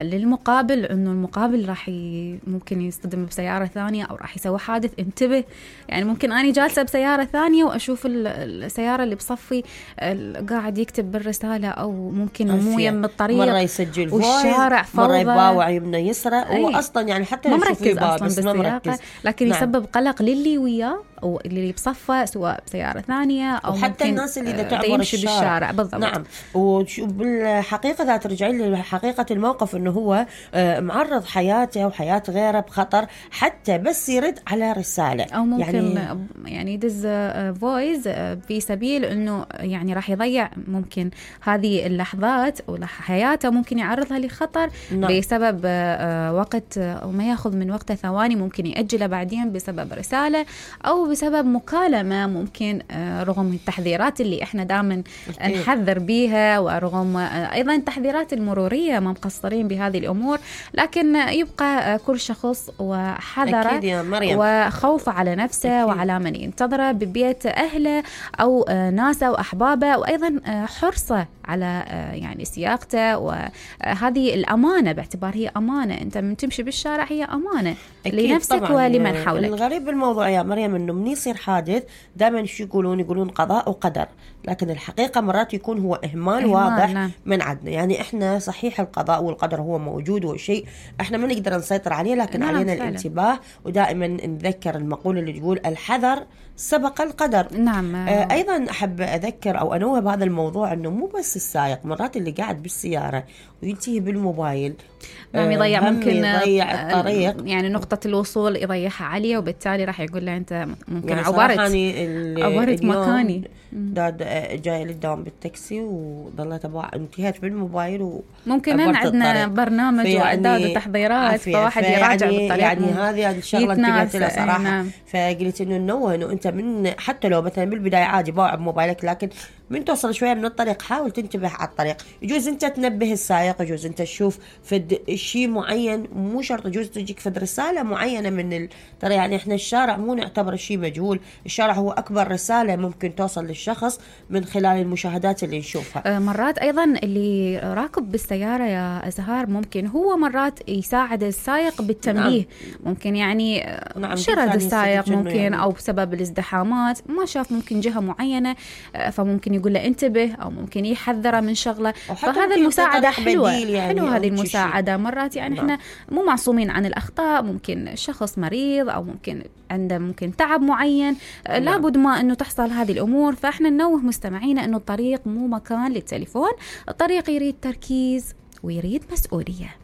للمقابل انه المقابل راح ممكن يصطدم بسيارة ثانية او راح يسوي حادث. انتبه، يعني ممكن اني جالسة بسيارة ثانية واشوف السيارة اللي بصفي قاعد يكتب بالرسالة، او ممكن مو يم الطريق، مرة يسجل والشارع فوضى، مرة يباوع يمنى يسرى، واصلا يعني حتى ما يشوف مركز يباوع اصلا بس ما بالسياقة، مركز. لكن نعم. يسبب قلق للي وياه او اللي بصفه، سواء بسيارة ثانية او وحتى ممكن الناس اللي تعبر يمشي الشارع. بالشارع. بالضبط. نعم. وبالحقيقة ذات ترجعين لحقيقة الموقف انه هو معرض حياته وحياة غيره بخطر حتى بس يرد على رسالة، او ممكن يعني يدز فويس في سبيل انه يعني راح يضيع ممكن هذه اللحظات وحياته، ممكن يعرضها لخطر. نعم. بسبب وقت وما ياخذ من وقته ثواني، ممكن يأجله بعدين بسبب رسالة او بسبب مكالمة. ممكن رغم التحذيرات اللي احنا دائما نحذر بيها، ورغم ايضا التحذيرات المرورية ما مقصرين بهذه الامور، لكن يبقى كل شخص وحذره وخوفه على نفسه وعلى من ينتظره ببيت اهله او ناسه واحبابه، وايضا حرصه على يعني سياقته، وهذه الامانه باعتبار هي امانه. انت من تمشي بالشارع هي امانه لنفسك ولمن حولك. الغريب بالموضوع يا مريم انه من يصير حادث دائما شو يقولون قضاء وقدر، لكن الحقيقه مرات يكون هو اهمال واضح. نعم. من عندنا. يعني احنا صحيح القضاء والقدر هو موجود وشيء احنا ما نقدر نسيطر عليه، لكن نعم علينا فعلا الانتباه، ودائما نذكر المقوله اللي تقول الحذر سبق القدر. نعم. ايضا احب اذكر او انوه بهذا الموضوع انه مو بس السائق، مرات اللي قاعد بالسياره وينتهي بالموبايل نعم يضيع، ممكن يضيع الطريق، يعني نقطة الوصول يضيعها عليه، وبالتالي راح يقول له أنت ممكن يعني عبرت مكاني. جاي للدوام بالتاكسي وضلت انتهيت بالموبايل، ممكن عندنا برنامج وإعداد وتحضيرات، فواحد يراجع بالطريق. يعني هذه الشغلة انتبهت لها صراحة. نعم. فقلت إنه أنت من حتى لو مثلا بالبداية عادي باوع بموبايلك، لكن من توصل شوية من الطريق حاول تنتبه على الطريق. يجوز أنت تنبه السائق، يجوز أنت تشوف فد شيء معين، مو شرط يجوز تجيك فد رسالة معينة من ترى يعني إحنا الشارع مو نعتبر شيء مجهول، الشارع هو أكبر رسالة ممكن توصل للشخص من خلال المشاهدات اللي نشوفها. مرات أيضا اللي راكب بالسيارة يا أزهار ممكن هو مرات يساعد السائق بالتنبيه. نعم. ممكن يعني شرد السائق ممكن يعني أو بسبب الازدحامات ما شاف ممكن جهة معينة، فممكن يقول له انتبه، أو ممكن يحذره من شغلة. فهذا المساعدة حلوة. يعني حلوة هذه المساعدة. مرات يعني احنا مو معصومين عن الأخطاء، ممكن شخص مريض أو ممكن عنده ممكن تعب معين. لابد ما أنه تحصل هذه الأمور. فإحنا ننوه مستمعينا أنه الطريق مو مكان للتليفون، الطريق يريد تركيز ويريد مسؤولية.